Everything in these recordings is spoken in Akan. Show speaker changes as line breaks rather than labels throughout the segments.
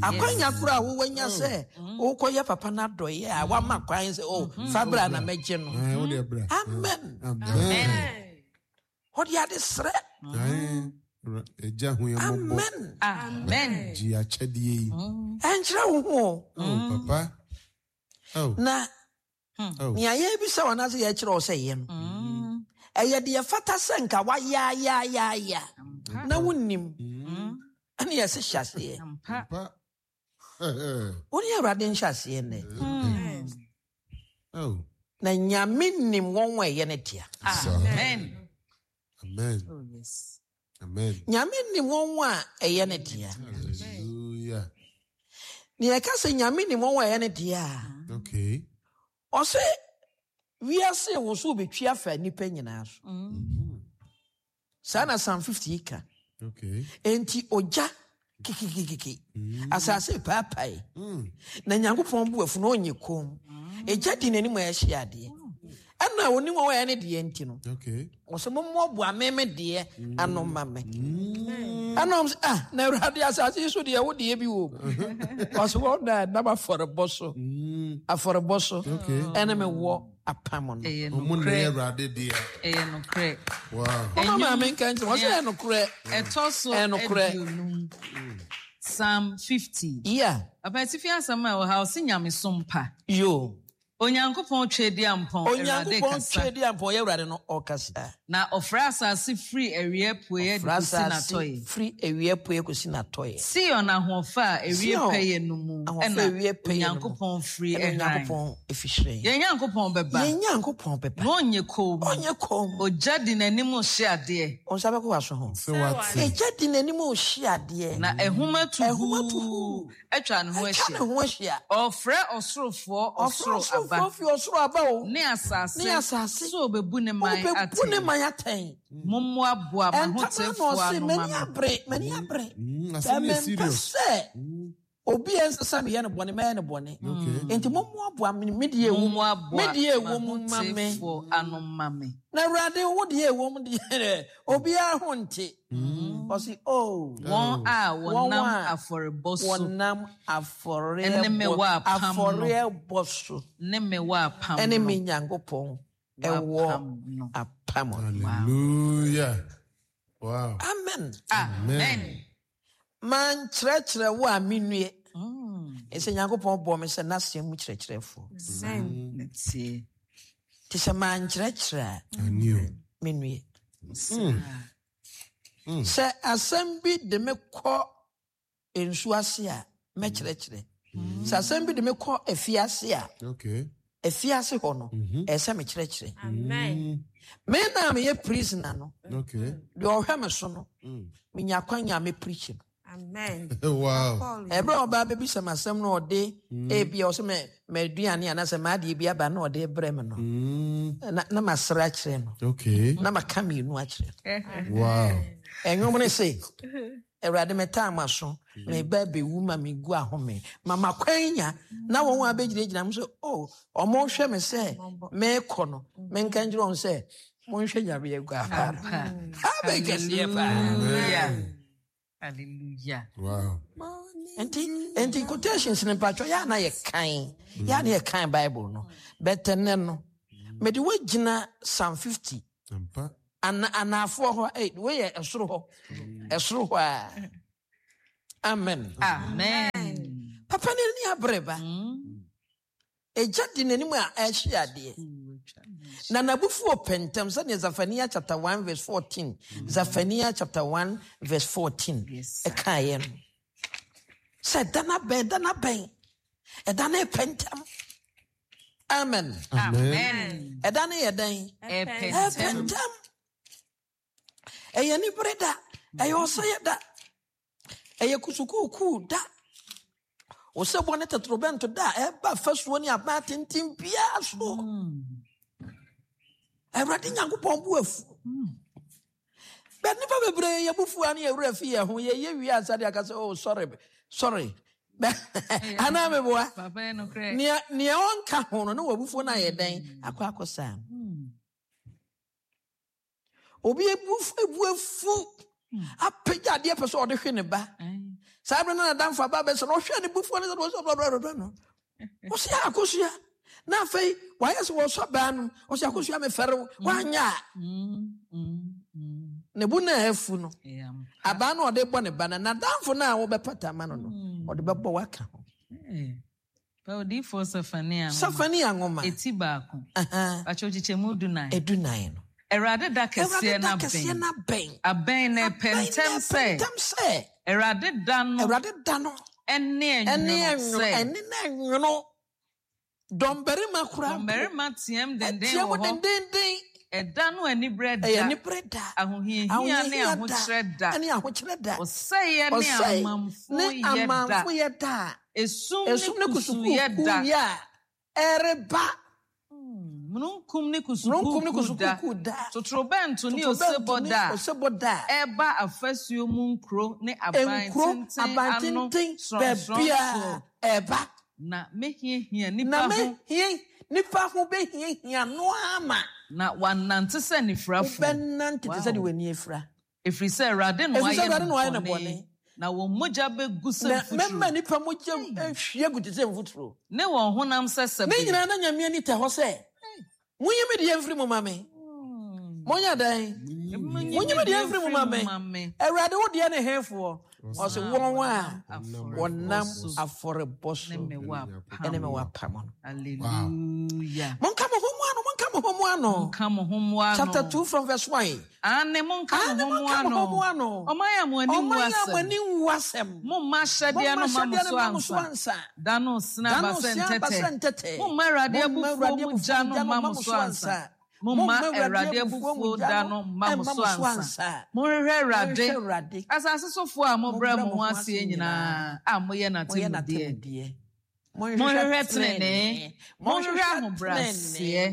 Akwanya koro a wowanya sɛ wokɔyɛ papa no adɔeɛ a wama kwan sɛ o fa bra na mɛgye no. Amen. Ɔde ade serɛ.
Agya hu yɛn mmɔbɔ.
Amen.
Amen.
Gye akyɛdeɛ yi.
Ɛnkyerɛ wo ho o.
Oh, papa. Oh.
Na
Oh.
nea yɛrebisa wo anaasɛ yɛrekyerɛ wo sɛ yɛ no, ɛyɛ deɛ ɛfata sɛ nka wayaayaayaya na wonnim ɛne yɛse hyɛ aseɛ.
Ampa.
Wo ne Awurade nhyɛ aseɛ nnɛ.
Oh.
Na Nyame nim wɔn a ɛyɛ ne dea.
Amen.
Amen.
Oh, yes.
Amen.
Nyame nim wɔn a ɛyɛ ne dea.
Hallelujah.
Nea ɛka sɛ Nyame nim wɔn a ɛyɛ ne dea a,
Okay.
ɔse wiase woso betwi afa nnipa nyinaa so. Saa na Psalm 50 yi ka.
Okay.
Enti ogya kikikikiki, asase paapae, na Nyankopɔn bu afu na ɔnyɛ komm. Egya di n'anim a ɛhye adeɛ. Ɛna onim wɔn a ɛyɛ ne deɛ nti no,
Okay.
ɔsɛ mommoaboa me me deɛ ano ma me. Ɛna ɔm sɛ, ah, na Awurade asase yi so deɛ wo deɛ bi wɔ mu. Ɔsɛ wɔn na ɛnam afɔrebɔ so, afɔrebɔ so,
Okay.
ɛne me wɔ apam no.
Ɛyɛ
Ɔmo na
nokorɛ.
ɛyɛ Awurade dea.
Ɛyɛ nokorɛ.
Wow.
Ɔma maame nka nkyerɛ, ɔsɛ ɛyɛ nokorɛ.
Ɛtɔ so
Ɛyɛ nokorɛ.
50. Psalm 50.
Yeah.
Papa atifi asɛm a ɛwɔ ha ɔse nyamesom pa.
Yo.
Onyankopɔn Tweaduampɔn Awurade
Onyankopɔn
kasa.
Tweaduampɔn yɛ Awurade no ɔkasa.
Na ɔfrɛ asase firi awia apueɛ de
Ɔfrɛ
kɔsi
asase
n'atɔeɛ.
firi awia apueɛ kɔsi n'atɔeɛ.
Sion ahoɔfɛ a ɛwie
Sion
pɛyɛ no mu
ahoɔfɛ
ɛna
a ɛwie pɛyɛ no mu
Onyankopɔn firi
ɛna
ɛhran.
Onyankopɔn fi hyerɛn.
Yɛn Nyankopɔn bɛba.
Yɛn Nyankopɔn bɛba.
Na ɔnyɛ komm.
Ɔnyɛ komm.
Ogya di n'anim rehye adeɛ.
Wo nsa bɛkɔ w'aso ho.
Sɛ wate.
Egya di n'anim rehye adeɛ.
Na ahum atu
Ahum atu
huu
huu.
atwa ne ho
Atwa
ahyia.
ne ho ahyia.
Ɔrefrɛ ɔsorofoɔ
Ɔfrɛ
ɔsoro aba.
ɔsorofoɔ fi ɔsoro aba o.
Ne asase.
Ne asase.
Sɛ ɔbɛbu ne man
Ɔbɛbu
atɛn.
ne man atɛn.
Mommoaboa
Ɛntɛm ara na
m'ahotefoɔ
ɔse,
ano ma
M'ani
me.
abere, m'ani abere.
Mm,
Sɛ
asɛm no yɛ
mempɛ
serious.
sɛ obi a ɛnsɛ sɛ meyɛ no bɔne mɛyɛ no bɔne.
Okay.
Enti mommoaboa me me deɛ ɛwɔ mu, me
Mommoaboa
deɛ ɛwɔ mu ma me.
m'ahotefoɔ ano ma me.
Na Awurade, wo deɛ ɛwɔ mu deɛ, obiara ho nte. Ɔse, oh.
Wɔn a
Wɔn
wɔnam
a
afɔrebɔ so.
wɔnam
Ɛne me wɔ apam no.
afɔrebɔ so.
Ne me wɔ apam
Ɛne
no.
me Nyankopɔn
Wɔ
ɛwɔ
apam no.
apam no.
Hallelujah. Wow.
Amen.
Amen.
Mankyerɛkyerɛ wo a mennue. Ɛsɛ Nyankopɔn bɔɔ me sɛ n'asɛm mu kyerɛkyerɛfoɔ.
Ntie.
Nti sɛ mankyerɛkyerɛ a
Ani o.
mennue. Sɛ asɛm bi de me kɔ nsuo ase a mɛkyerɛkyerɛ. Sɛ asɛm bi de me kɔ afiase a,
Okay.
afiase hɔ no, ɛyɛ sɛ mekyerɛkyerɛ.
Amen.
Me na meyɛ prisoner no,
Okay.
deɛ ɔhwɛ me so no, menya kwan a mɛpreach no.
Amen.
Wow.
Ɛberɛ a ɔbaa bɛbisa me asɛm no ɔde ebia ɔsɛ mɛ m'aduane anaasɛ m'adeɛ bi aba na ɔde brɛ me no, na na masere akyerɛ no.
Okay.
Na maka mmienu akyerɛ no.
Wow.
Ɛnwom no se, Awurade metaa m'aso, meba bɛwu ma megu ahome. Ma makwan nya na wɔn a bɛgyinagyina m sɛ, oh, ɔmo hwɛ me sɛ meekɔ no, menka nkyerɛ wɔn sɛ, monhwɛ Nyame aguafa no. Amen kɛseɛ paa.
Hallelujah. Hallelujah.
Wow.
Nti quotations no mpatwɔ yɛ ana yɛ kan yɛ ana yɛ kan Bible no bɛtɛ nɛ no mede woagyina Psalm 50
Ampa.
ana anaafoɔ hɔ ei wei yɛ ɛsoro hɔ ɛsoro hɔ a amen.
Amen.
Papa ne ani abere ba. Egya di n'anim a ɛhye adeɛ. Na n'abufuo pɛ ntɛm sɛdeɛ Zephaniah chapter 1 verse 14 Zephaniah chapter 1 verse 14
Yes, sir.
ɛkaeɛ no sɛ ɛda no abɛn ɛda no abɛn ɛda no ɛpɛ ntɛm. Amen.
Amen.
Ɛda no yɛ dɛn?
Ɛpɛ
Ɛpɛ
ntɛm.
ntɛm. Ɛyɛ nibere da, ɛyɛ ɔsɛeɛ da, ɛyɛ kusukuukuu da, osebɔ ne totorobɛnto da a ɛba fasuo ne aban atenten biara so. Awurade Nyankopɔn bu afu. Bɛ nnipa bebree yɛ bufu a ne yɛwerɛ fi yɛn ho yɛyɛ wie ansa de aka sɛ oh sorry sorry. Anaa meboa.
Papa yɛ nokorɛ.
Nea nea ɔnka ho no ne wabufuo no ayɛ dɛn akɔ akɔ saa. Obi ebu ebu afu apagya adeɛ pɛ sɛ ɔde hwe ne ba. Saa bere no na damfo aba abɛsɛ no, ɔhwɛ ne bufuo no sɛ ɔsɛ ɔbrɔbrɔbrɔ no. Ɔsɛ akosua. Na afei wayɛ sɛ wɔsɔ baa no, ɔsɛ akosua mefɛre wo, woanyɛ a. Ne bo na afu no. Abaa no ɔde bɔ ne ba no, n'adamfo no a wobɛpata ama no no, ɔde bɛbɔ waka ho.
Odiyifoɔ Sefania nwoma.
Sefania nwoma.
Eti baako. Pakyɛ kyekyɛmu 14.
14 no.
Awurade da kɛseɛ no
Awurade da kɛseɛ no abɛn.
Abɛn na ɛpɛ ntɛm sɛ.
Ntɛm sɛ.
Awurade da no.
Awurade da no.
Ɛne ɛnwono sɛ.
Ɛne na ɛnwono. Dɔmbarima koraa.
Dɔmbarima team denden wɔ hɔ.
Team dendenden.
Ɛda no anibrɛ da.
Ɛyɛ anibrɛ da.
Ahohiahia ne ahokyerɛ da.
Ɛne ahokyerɛ da.
Ɔsɛeɛ ne amamfo
ne amamfo yɛ da.
Esum ne kusuyɛ da.
Yɛ a ɛreba.
Mununkum ne kusukuukuu da. Totorobɛnto ne osebɔ da.
Osebɔ da.
Ɛba afasuo mu nkuro ne aban tenten ano
sorɔnsorɔn so. Ɛba.
Na mehiahia nipa ho.
Na mehia nipa ho bɛhiahia no ama.
Na wanante sɛ nifirafo.
Wobɛnante te sɛ deɛ w'ani afira.
Ɛfiri sɛ Awurade na wayɛ no bɔne. Na wɔn mogya bɛgu sɛ mfuturo.
Na mɛma nipa mogya ahwie gu te sɛ mfuturo.
Ne wɔn honam sɛ sɛbe.
Ne nyinaa na Nyame ani tɛ hɔ sɛ, Monyi me deɛ mfiri mu ma me. Monyɛ dɛn? Monyi me deɛ mfiri mu ma me. Awurade, wo deɛ ne hefoɔ? Ɔse wɔn a wɔnam afɔrebɔ so ne me wɔ apam no.
Hallelujah.
Monka mo ho mu ano, monka mo ho mu ano.
Monka mo ho mu ano.
Chapter 2 from verse 1.
Aane, monka mo ho mu ano. Ɔman a mo ani nwu asɛm.
Ɔman a mo ani nwu asɛm.
Momma ahyɛdeɛ no mma mo so ansa. Da no resene aba sɛ ntɛtɛ. Momma Awurade abufuo mu gya no mma mo so ansa. Momma Awurade abufuo da no mma mo so ansa. Monhwehwɛ Awurade, asase sofoɔ a mobrɛ mo ho aseɛ nyinaa a moyɛ n'atemmudeɛ. Monhwehwɛ tenenee, monhwehwɛ ahobrɛaseɛ.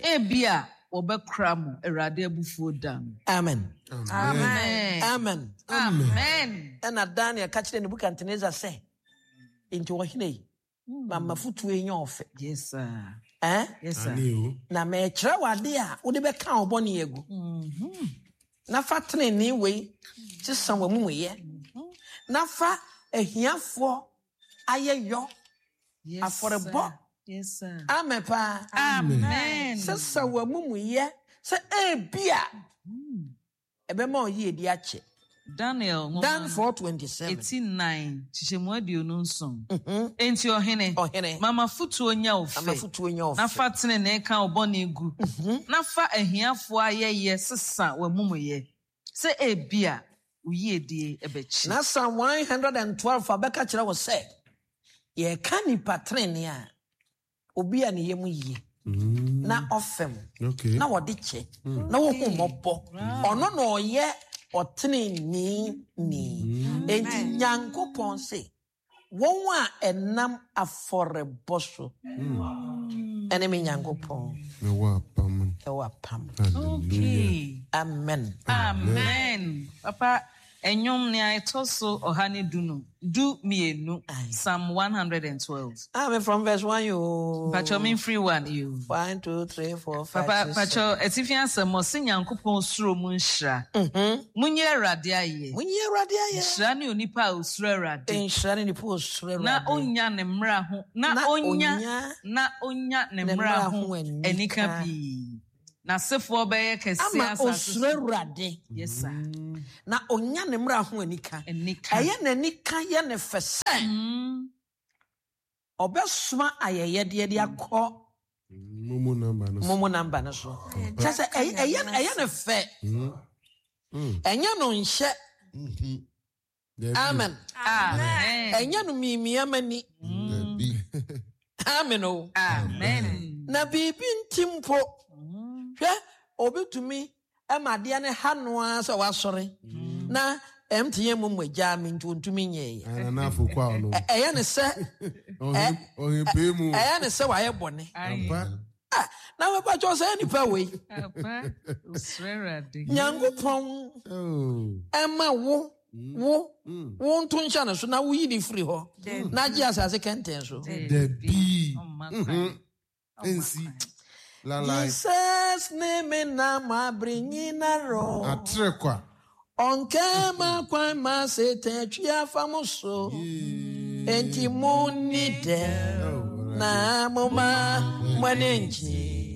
Ebia wɔbɛkora mo Awurade abufuo da no.
Amen.
Amen.
Amen.
Amen.
Ɛna Daniel ka kyerɛ Nebukadnezar sɛ, enti ɔhene yi, ma m'afotuo yi nyɛ ɔfɛ.
Yes, sir.
Eh?
Yes, sir.
Na mekyerɛ wo ade a wode bɛka wo bɔne agu. Na fa tenenee wei sesa w'amumuyɛ. Na fa ahiafoɔ ayɛ yɔ afɔrebɔ.
Yes, sir.
Amen paa.
Amen.
Sesa w'amumuyɛ sɛ ebia ɛbɛma ɔyiedi akyɛ.
Daniel nwoma
Dan
no
4:27.
eti 4 kyekyɛmu 27. Enti ɔhene,
Ɔhene,
ma m'afotuo nyɛ wo fɛ.
Ma m'afotuo nyɛ wo
Na
fɛ.
fa tenenee ka wo bɔne gu. Na fa ahiafoɔ ayɛyɛ sesa w'amumuyɛ, sɛ ebia wo yiedie bɛkye.
Na Psalm 112 abɛka kyerɛ wo sɛ, yɛka nipa tenenee a, obi a ne yam yie, na ɔfɛm, na wɔde kyɛ, na wohu mmɔbɔ. Ɔno na ɔyɛ ɔtenenee ni. Enti Nyankopɔn se, wɔn a ɛnam afɔrebɔ so ɛne me Nyankopɔn
ɛwɔ apam.
Ɛwɔ apam.
Okay.
Amen.
Amen. Papa, ɛnwom nea ɛtɔ so 112, 12, Psalm 112.
Amen from verse 1 yo.
Pacho me free 1 yo.
1 2 3 4 5
Papa,
6
Pacho atifi asɛm ɔse Nyankopɔn suro mu nhyira. Munyi Awurade ayɛ.
Munyi Awurade ayɛ.
Nhyira ne onipa a osuro Awurade.
Nhyira ne nipa a osuro Awurade.
Na onya ne mmara ho na onya na onya ne mmara ho anika pii. N'asefoɔ bɛyɛ kɛse
Ama
asase so.
osuro Awurade.
Yes sir.
Na onya ne mmara ho anika.
Anika.
Ɛyɛ n'anika yɛ ne fɛ sɛ ɔbɛsoma ayɛyɛdeɛ de akɔ
Momo number no so.
Momo number no so. Kyerɛ sɛ ɛyɛ ne fɛ. Ɛnyɛ no nhyɛ. Amen.
Amen.
Ɛnyɛ no miamia mani. Amen o.
Amen.
Na biribi nti mpo. Hwɛ obi tumi ɛma adeɛ ne ha no ara sɛ wasɔre. Na MTN mu mogya mi nti ontumi nyɛɛ. Ɛyɛ ne sɛ ɛyɛ ne sɛ wayɛ bɔne. Na wɛpa kyɛw sɛ nipa wei. Nyankopɔn ɛma wo wo wo nto nhyɛ no so na woyi ne firi hɔ na gye asase kɛntɛn so.
Dabi. Nsi.
Jesus ne me nam abere nyinara.
Atre kwa.
Ɔnkɛma kwan ma Satan atwi afa mo so. Enti monni dɛm na momma mo ani ngye.